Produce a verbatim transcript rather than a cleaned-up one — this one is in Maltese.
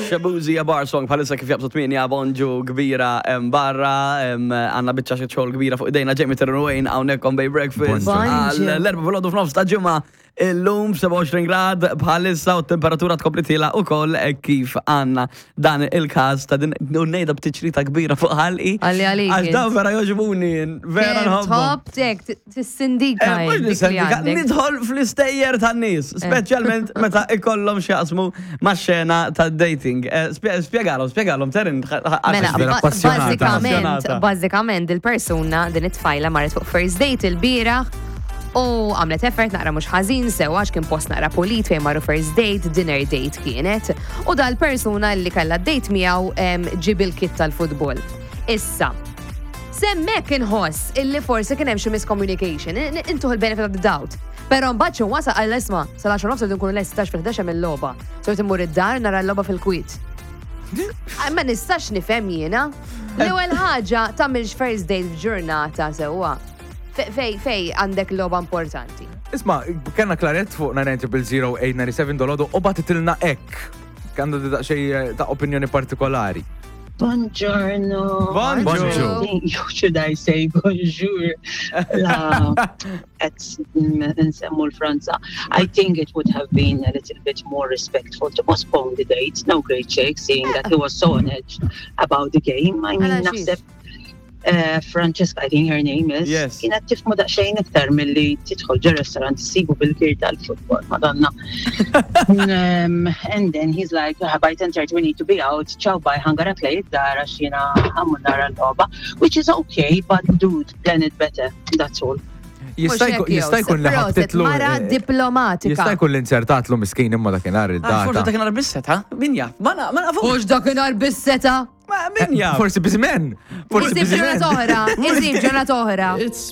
Shaboozey, A Bar Song, bħalissa kif jaqbżu tmienja. Bonġu kbira em, barra, em, għandna biċċa xi xogħol kbira fuq idejna. Jamie Terwayne hawnhekk on Bay Breakfast. Bonġu. Għal l-erbgħa filgħodu f'nofs ta' ġimgħa illum, sebgħa u għoxrin grad bħalissa u temperatura tkompli tiela' ukoll kif għandna dan il-każ ta' din u ngħidha b'tiċrita kbira fuq ħalqi. Għalli għalik Għax dawn int. vera jogħġbuni, vera nħobbhom. Top tek, tissindika. Eh, mhux dik li nisendika, għandek. nidħol fl-istejjer tan-nies, speċjalment meta ikollhom x'jaqsmu ma' xena ta' dating. Eh, spje- Spjegalhom, spjegalhom, Terin. Mela, vera ba- appassionata. bażikament, Appassionata. bażikament il-persuna, din it-tfajla, marret fuq first date il-bieraħ u għamlet effort naqra mhux ħażin sew, għax kien post naqra pulit fejn marru first date, dinner date kienet. U dal-persuna li kellha date miegħu em, ġib il-kit tal-futbol. Issa, s'hemmhekk inħoss illi forsi kien hemm xi miscommunication, in- intuh il-benefit of the doubt. Però mbagħad xi wasal għal isma' sal-għaxra nofs nkunu lesti għax fil-ħdax hemm il-logħba. So immur id-dar nara l-logħba fil-kwiet. Ah, ma nistax nifhem jiena. L-ewwel ħaġa, tagħmilx first date f'ġurnata sewwa. Fe- Fej fej għandek logħba importanti. Isma, kellna Claret fuq nine nine zero zero eight nine seven dolodu u bagħtitilna hekk. Għandu daqsxejn ta' opinjoni partikolari. Buongiorno. Bonġu. Should I say bonjour? La, qed nsemmu l-Franza. I think it would have been a little bit more respectful to postpone the date. No great shake, seeing that he was so on edge about the game. I mean, Għala xiex? naħseb uh, Francesca, I think her name is, Yes. kienet tifhmu daqsxejn iktar milli tidħol ġo restaurant issibu bil-kit tal-futbol, madonna. um, and then he's like, "Ah, by ten thirty we need to be out, ciao, bye, ħa nara play id-dar għax jiena ħa mmur nara l-logħba," which is okay, but dude, plan it better, that's all. Jista' jkun jista' jkun li ħabtitlu. Mara eh, diplomatika. Jista' jkun li inzertatlu miskin imma dakinhar Forse il-data. dakinhar bis-setgħa, min jaf? Ma na- ma nafux. Mhux dakinhar bis-setgħa. Ma min jaf? Forsi biżmen. Forsi Isib biżmen. ġurnata oħra. Isib ġurnata oħra. It's